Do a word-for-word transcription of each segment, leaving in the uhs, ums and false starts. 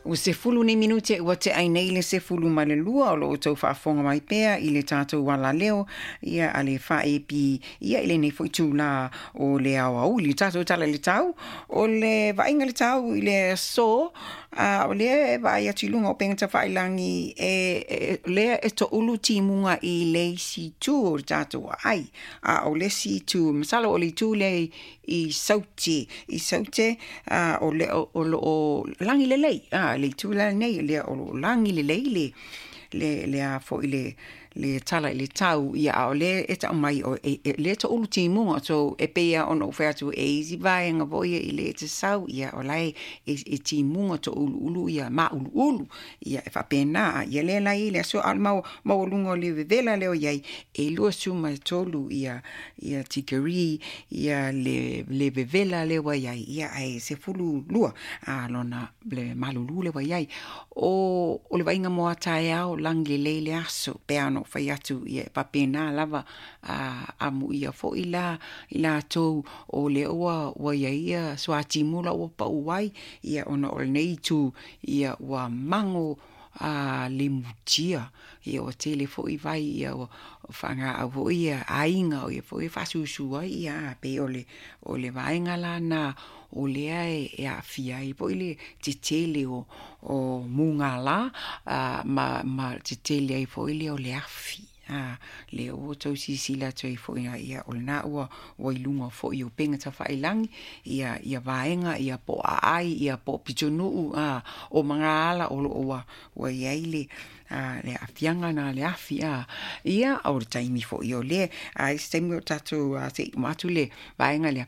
Ua sefulu nei minute ua tea ai nei le sefulu ma le lua o loo outou faafofoga mai pea i le tatou alaleo ia a le F A B ia i lenei foi itulā o le aoauli tatou tala i le tau o le vaaiga le tau i le aso a o lea e vaai atu i luga o upega tafailagi e, e lea e toulu timuga i le isi itu o le tatou aai a o le isi itu masalo o le itu lea i Saute i Saute a o le o loo lagi lelei a le itu la nei lea o loo lagi lelei le le le a foi le le tala i le tau ia a o le e tau mai o e, e, le toulu timuga so e pei a ona ou fai atu e isi vaega foi ia i le te sau ia o lae e, e timuga touluulu ia mauluulu ia e faapena ia lea la i le aso a o le mau maualuga o le vevela lea o iai e luasefulu ma tolu ia ia tikeri ia le le vevela lea ua iai ia ae sefulu lua a lona le malulu lea ua iai o o le vaaiga mo a taeao lagi lelei le aso pe ana ou fai atu ia e faapena lava a amuia foi la i latou o lea ua ua iai ia suatimu la ua pau ai ia ona o lenei itu ia ua mago a le mutia ia ua tele foi vai ia ua faagaau foi ia aiga o ia foi e faasusu ai ia pei o le o le vaega lana o lea e, e aafia ai foi le tetele o o mugala a ma ma tetele ai foi le o le afi a lea ua outou silasila atu ai foi ia o lena ua ua i luga foi o upega tafailagi ia ia vaega ia po o aai ia po o pitonuu a o magaala o loo ua ua iai le a le aafiaga na le afi a ia o le taimi foi o lea a isi taimi o tatou se i uma atu le vaega lea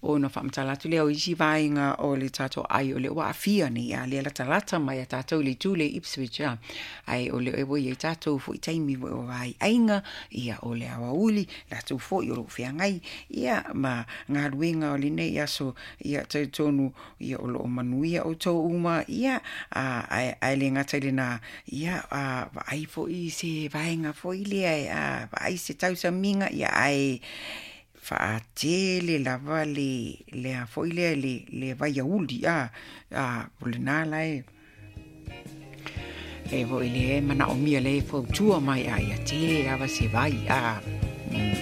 ona faamatala atu lea o isi vaega o le tatou ai o lea ua aafia nei a lea latalata mai a tatou i le itu le Ipswich a ai o lea ua iai tatou foi taimi foi o aiga ia o le aoauli latou foi o loo feagai ia ma galuega o lenei aso ia talitonu ia o loo manuia outou uma ia a ae le gata i lena ia a vaai foi se vaega foi lea a vaai se tausamiga ia ae faatele lava le lea foi lea le le vaiauli a a o lena lae e foi le manaomia le fautua mai a ia tele lava se vai a mm.